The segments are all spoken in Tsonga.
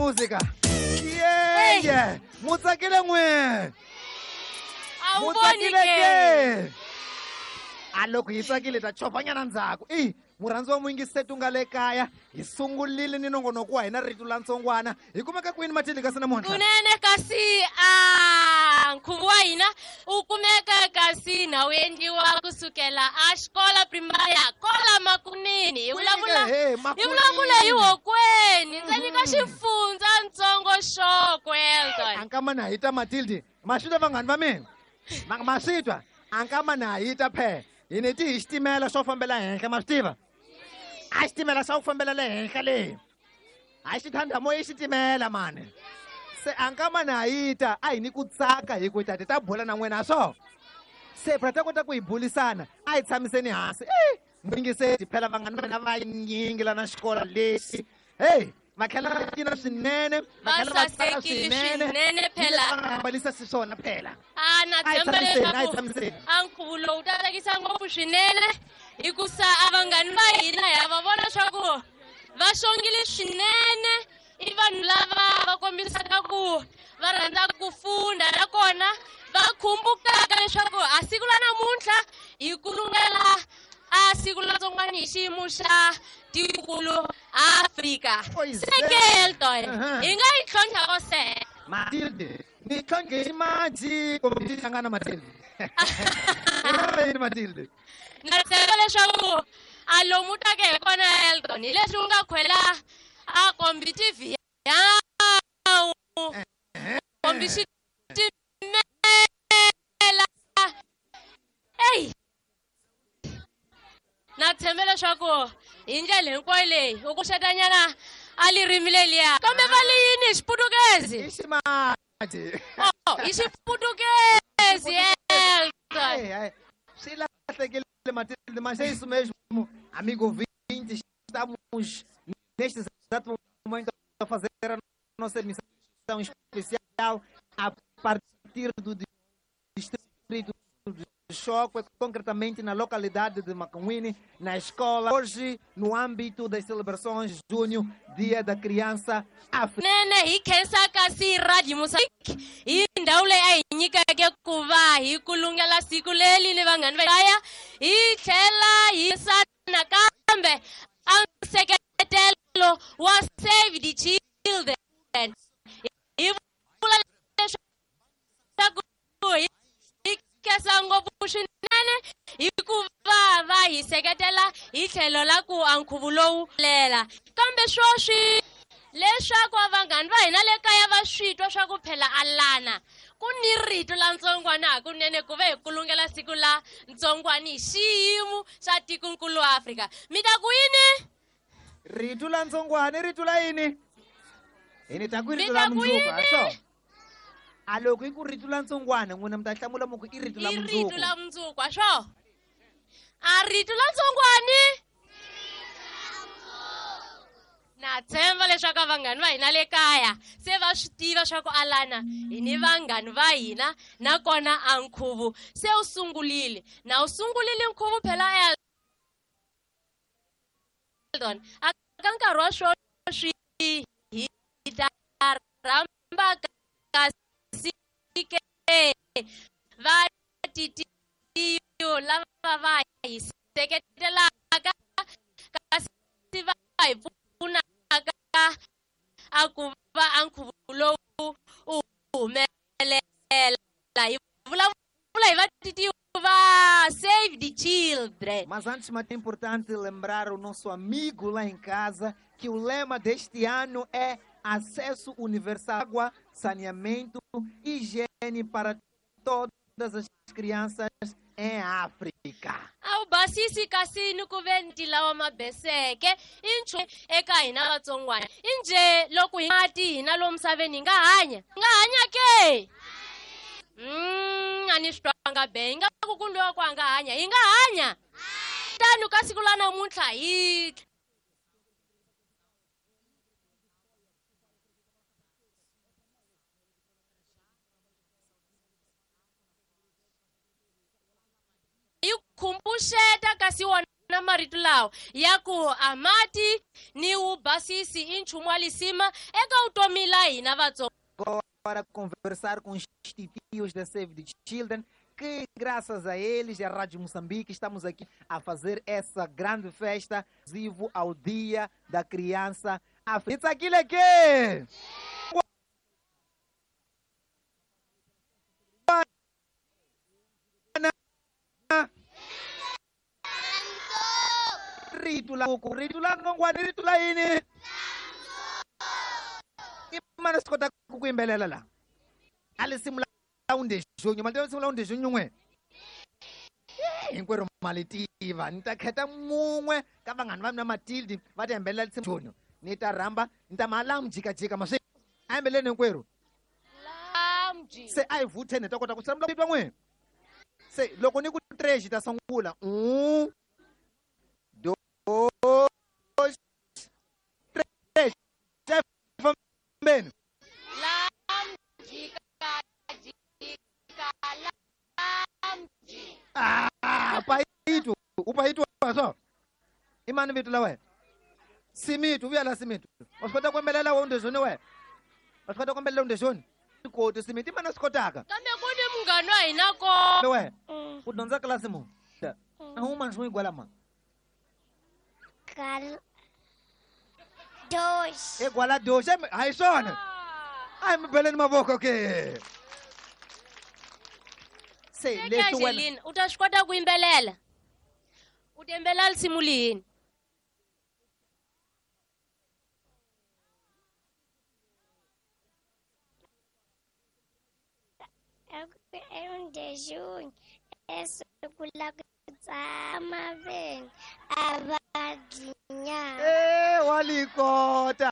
Música. Yeah, yeah. Mutsakile n'we. A wu voni Mutsakile ke? ke. A loko hi tsakile ta chovhanyana ndzhaku. I murhandzi wa muyingiseti u nga le kaya hi sungurile ni nongonoko wa hina rito la ntsongwana. Hi kumeka kwini Matilde kasi namuntlha? Kunene kasi a nkhuvo wa hina wu kumeka kasi na wu endliwa kusukela a xikola primaria kola Makunini. Hi vulavula Kwini ke? He, hi Makunini. vulavula hi hokweni ndzeni ka xifundza ntsongo Xokwe Elton. A nkama na hita Matilde. Ma swi twa vanghani va mina? Ma swi twa? A nkama na hita phe. Hi ni ti hi xitimela xo fambela henhla ma swi tiva? A xitimela xa ku fambela le henhla le. A xi thanda moya i xitimela mani. Se a nkama na hita a hi ni ku tsaka hi ku tate ta bula na n'wina swo. Se phela ta kota ku hi bulisana a hi tshamiseni hansi. Muyingiseti phela vanghani va mina va nyingi la na xikolo lexi. Hey, va tlhela va cina swinene, va Va tlhela va tsaka sasekile swinene. swinene phela. Va nga hambanisa xiswona phela. A na A hi tshemba tshamiseni, a hi leswaku tshamiseni. a nkhuvo lowu ta tsakisa ngopfu swinene hikusa a vanghani va hina ha va vona swa ku va xongile swinene i vanhu lava va kombisaka ku va rhandza ku funda nakona va khumbukaka leswaku a siku la namuntlha hi kulungela a siku la tsongwana hi xiyimo xa tikulu Afrika. Pois Se é. ke Elton, hi nga yi tlhontlha ko se. Matilde, ni tlhontlhe ximaji kumbe ti hlangana Matilde. I Matilde. Na tshemba leswaku a lomu take hi kona Elton hi leswi u nga khwela a kombi TV yawu kombi xitimela. Eyi na tshemba leswaku hi ndlela hinkwayo leyi u ku xetanyana a lirimi leliya kambe va li yini hi xiputukezi? I ximaji. Oh, hi xiputukezi Elton. Ai, ai. Swi lahlekile Matilde, mas é isso mesmo, amigo ouvinte, estamos neste exato momento a fazer a nossa emissão especial a partir do distrito de Chókwè, concretamente na localidade de Macuine, na escola. Hoje, no âmbito das celebrações de junho, Dia da Criança Africana. Nene hi khensa kasi Radio Mozambique hi ndhawu leyi a hi nyikeke ku va hi kulungela siku leri ni vanghani va kaya hi tlhela hi nakambe a nseketelo wa Save the Children. Hi vula leswaku hi khensa ngopfu swinene hikuva va hi seketela hi tlhelo la ku a nkhuvo lowu lela kambe swoswi leswaku vanghani va hina le kaya va swi twa swa ku phela alana ku ni rito la ntsongwana hakunene ku ve hi kulungela siku la ntsongwana hi xiyimo xa tikonkulu Afrika. Mi ta ku yini? Rito la ntsongwana i rito la yini? Hi ni ta ku i rito Mi la ta ku mundzuku, yini? a swo? A loko i ku rito la ntsongwana n'wina mi ta hlamula mi ku i rito la I mundzuku. rito la mundzuku, a swo? A rito la ntsongwani? Na tshemba leswaku vanghani va hina le kaya se va swi tiva swa ku alana hi ni vanghani va hina nakona a nkhuvo se wu sungurile. Na wu sungurile nkhuvo phela Elton. A ka nkarhi wa sweswi hi ta rhamba kasi ke va titiyo lava va hi seketelaka kasi va hi pfunaka a ku va a nkhuvo lowu u humelela. Hi vulavula hi va titiyo va Save the Children. Mas antes, mas é importante lembrar o nosso amigo lá em casa que o lema deste ano é acesso universal à água, saneamento e higiene para todas as crianças em África. A wu basisi kasi ni ku ve ni lawa mabeseke i nchumu eka hina vatsongwana. I njhe loko hi mati hina lomu misaveni hi nga hanya? Hi nga hanya ke? A ni swi twanga be. Hi nga ku ku loko a nga hanya, hi nga hanya. Tano ka siku la namuntlha hi yi khumbuxeta kasi wona wona marito lawa ya ku a mati ni wu basisi i nchumu wa lisima eka vutomi la hina Vatsonga. Agora conversar com os titios da Save the Children, que graças a eles, a Rádio Moçambique, estamos aqui a fazer essa grande festa vivo ao Dia da Criança Africana. Aquilo aqui! Rito la rito la ngwani rito la yini? Imana sikota ku yimbelela la. Alisimu la undejunyu, mali tiva la undejunyu n'we. Hinkwerhu mali tiva, ni ta khetha mun'we ka vanghani va mina Matilde va ta yimbelela lisimu junyu. Ni ta rhamba, ni ta mala mjikajika maswi. A yimbeleni hinkwerhu. Se a hi vutheni hi ta kota ku hlamula titwa n'we. Se loko ni ku 3 ta sungula. 1 2 3. Fambeni. Ah, paitu, upaitu so. Imani vitu la we. Simitu, vuya la simitu. Wasikota kwembelela we undezoni we. Wasikota kwembelela undezoni. Koti simiti imani sikotaka. Kambe ku ni munghana wa hina ko. We. U dyondza klasi mu. Ahuma nxu igwala ma. Kal dois. Igwala dois, hayi swona. Ai mi beleni mavoko ke. Se leswi wena u ta swi kota ku yimbelela. U ta yimbelela risimu lini? Undejunyu esiku la ku tsama veni a va dyi nyama. Walikota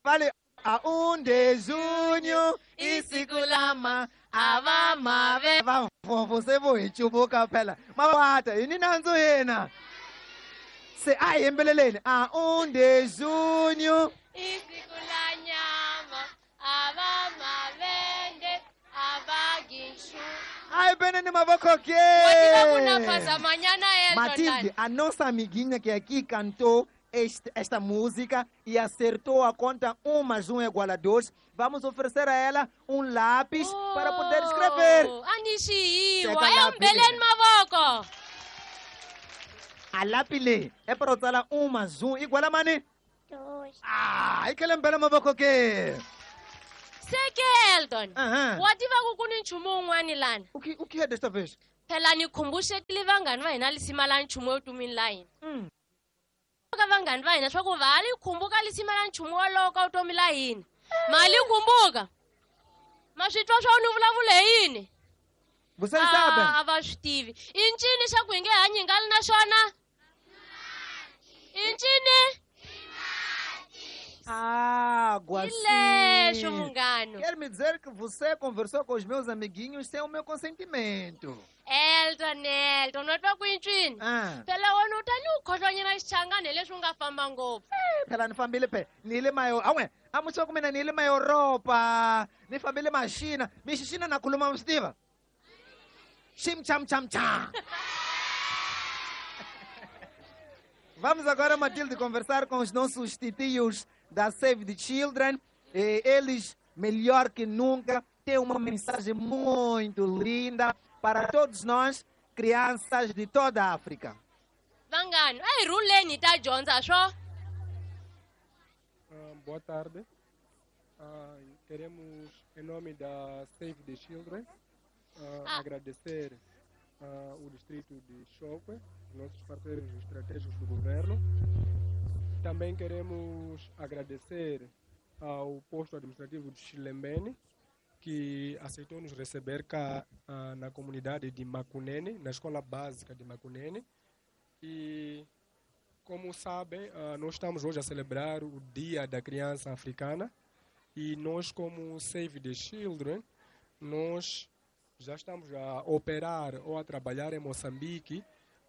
vale a undejunyu isiku lama a va mave va fofo se vo hi cuvuka phela mavata hi ni nandzu yena se a hi yimbeleleni a undejunyu isiku la nyama a va mavende a va gishu. Ai, beneni mavoko ke. Matilde, a nossa amiguinha que aqui cantou esta música e acertou a conta 1 + 1 = 2, vamos oferecer a ela um lápis para poder escrever. Anishiwa, é um beleno mavoko. A lápis le é para usar 1 + 1 igual a mani? 2. Ah, e que ele é mavoko ke. Seke Elton. Wa tiva ku ku ni nchumu wun'wani lana. O que é desta vez? Phela ni khumbuxekile vanghani va hina lisima la nchumu evutomini la hina. Ka vanghani va hina swa ku va li khumbuka lisima la nchumu wolowo ka vutomi la hina. Ma li khumbuka? Ma swi twa swa ni vulavula hi yini? Vocês sabem? A va swi tivi. I ncini xa ku hi nge hanyi hi nga li na xona? I ncini? Água, sim. Quer me dizer que você conversou com os meus amiguinhos sem o meu consentimento? Elton, Elton, no twa ku incwini. Phela wena u ta ni u khohlwanyana xichangani leswi u nga famba ngopfu. Phela ni fambile phela ni le mayo. Awe, a mutswa ku mina ni le Maeuropa, ni fambile Maxina, mi xixina na khuluma mi swi tiva. Xim cham cham cham. Vamos agora, Matilde, conversar com os nossos titios da Save the Children. Eles, melhor que nunca, têm uma mensagem muito linda para todos nós, crianças de toda a África. Vangano, ai ruleni ta dyondza swo. Boa tarde. Queremos, em nome da Save the Children, agradecer o distrito de Chókwè, nossos parceiros estratégicos do governo. Também queremos agradecer ao posto administrativo de Chilembene, que aceitou nos receber cá na comunidade de Macunene, na escola básica de Macunene. E, como sabem, nós estamos hoje a celebrar o Dia da Criança Africana e nós, como Save the Children, nós já estamos a operar ou a trabalhar em Moçambique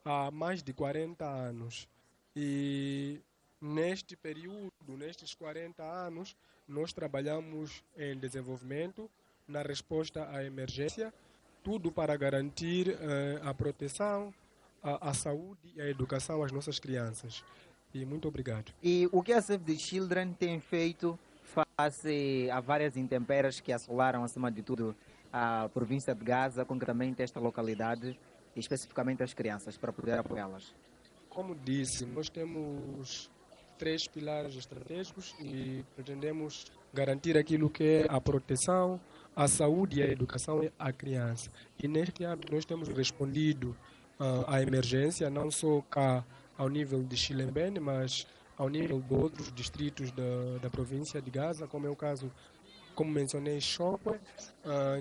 há mais de 40 anos. E neste período, nestes 40 anos, nós trabalhamos em desenvolvimento, na resposta à emergência, tudo para garantir a proteção, a saúde e a educação às nossas crianças. E muito obrigado. E o que a Save the Children tem feito face a várias intempéries que assolaram, acima de tudo, a província de Gaza, concretamente esta localidade, e especificamente as crianças, para poder apoiá-las? Como disse, nós temos 3 pilares estratégicos e pretendemos garantir aquilo que é a proteção, a saúde e a educação à criança. E neste âmbito nós temos respondido à emergência, não só cá ao nível de Chilembene, mas ao nível de outros distritos da província de Gaza, como é o caso, como mencionei, Chókwè,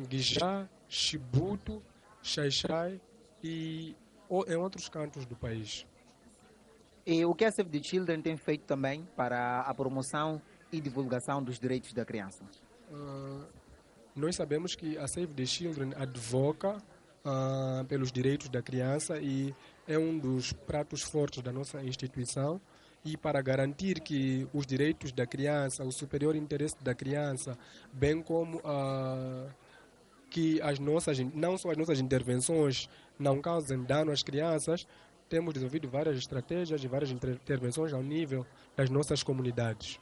Guijá, Chibuto, Xai-Xai e em outros cantos do país. E o que a Save the Children tem feito também para a promoção e divulgação dos direitos da criança? Nós sabemos que a Save the Children advoca pelos direitos da criança e é um dos pratos fortes da nossa instituição. E para garantir que os direitos da criança, o superior interesse da criança, bem como que as nossas, não só as nossas intervenções não causem dano às crianças, temos desenvolvido várias estratégias e várias intervenções ao nível das nossas comunidades.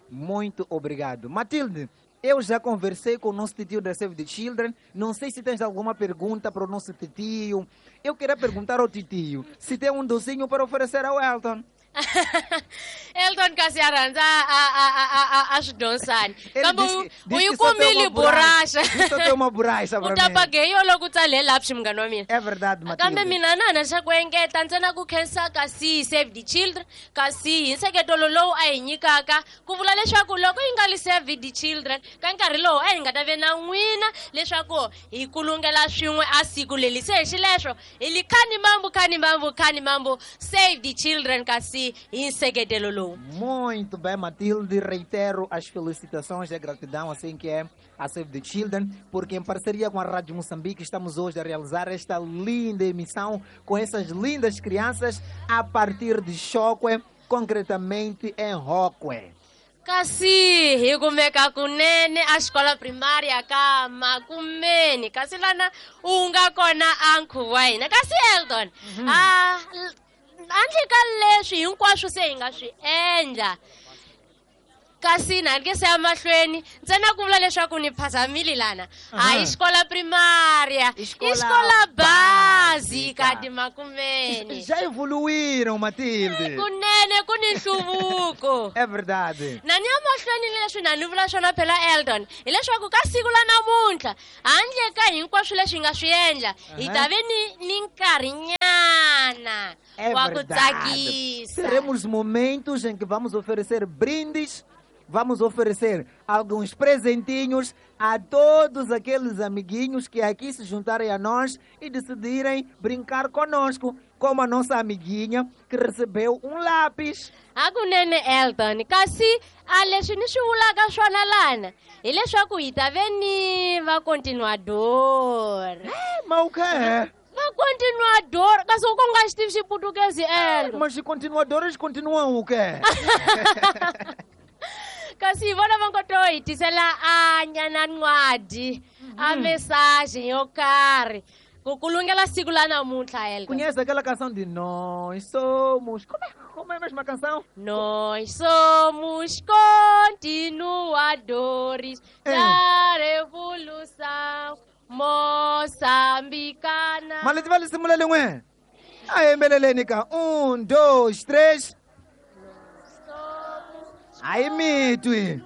Muito obrigado. Matilde, eu já conversei com o nosso titio da Save the Children. Não sei se tens alguma pergunta para o nosso titio. Eu queria perguntar ao titio se tem um docinho para oferecer ao Elton. Elton kasi arranza a xidonsani kambe u yi kumile borracha. Só tem uma borracha para mim. U ta paguei loko u tsale lapsi munghana wa mina. É verdade, Matilde. Kambe mina na xa ku engeta ntsena ku khensa kasi Save the Children kasi hi nseketelo lowu a hi nyikaka ku vula leswaku loko yi nga li Save the Children ka nkarhi lowu a hi nga ta ve na n'wina leswaku hi kulungela swin'we a siku leli se hi xileswo hi li khani mambu khani mambu khani mambu Save the Children kasi. Muito bem, Matilde, reitero as felicitações e a gratidão, assim que é a Save the Children, porque em parceria com a Rádio Moçambique estamos hoje a realizar esta linda emissão com essas lindas crianças a partir de Chókwè, concretamente em Hóquè. Kasi hi kumeka kunene a xikola primária ka Makumeni kasi lana u nga kona a nkhuvo wa hina kasi Elton handle ka leswi hinkwaswo se hi nga swi endla kasi na ke se ya mahlweni ntsena ku vula leswaku ni phazamile lana a hi xikola primária i xikola básica de Makumeni. Já evoluíram, Matilde. Kunene ku ni nhluvuko. É verdade. Na ni ya mahlweni leswi na ni vula swona phela Elton hileswaku ka siku la namuntlha handle ka hinkwaswo leswi hi nga swi endla hi ta ve ni nkarhinyana wa ku tsakisa. Teremos momentos em que vamos oferecer brindes, vamos oferecer alguns presentinhos a todos aqueles amiguinhos que aqui se juntarem a nós e decidirem brincar conosco, como a nossa amiguinha que recebeu um lápis. Hakunene Elton, kasi a leswi ni swi vulaka swona lana hileswaku hi ta ve ni va continuador. Mas o quê? Va continuador, kasi u nga xi tivi xiputukezi Elton. Mas os continuadores continuam o quê? Kasi vona va ngo to hi tisela a nyana ncwadi a mensagem yo karhi ku kulungela siku la namuntlha Elton. Conhece aquela canção de Nós somos... Como é a mesma canção? Nós somos continuadores da revolução moçambicana. Mas vale simulela n'we. A yembeleleni ka 1 2 3. Ai mitwi.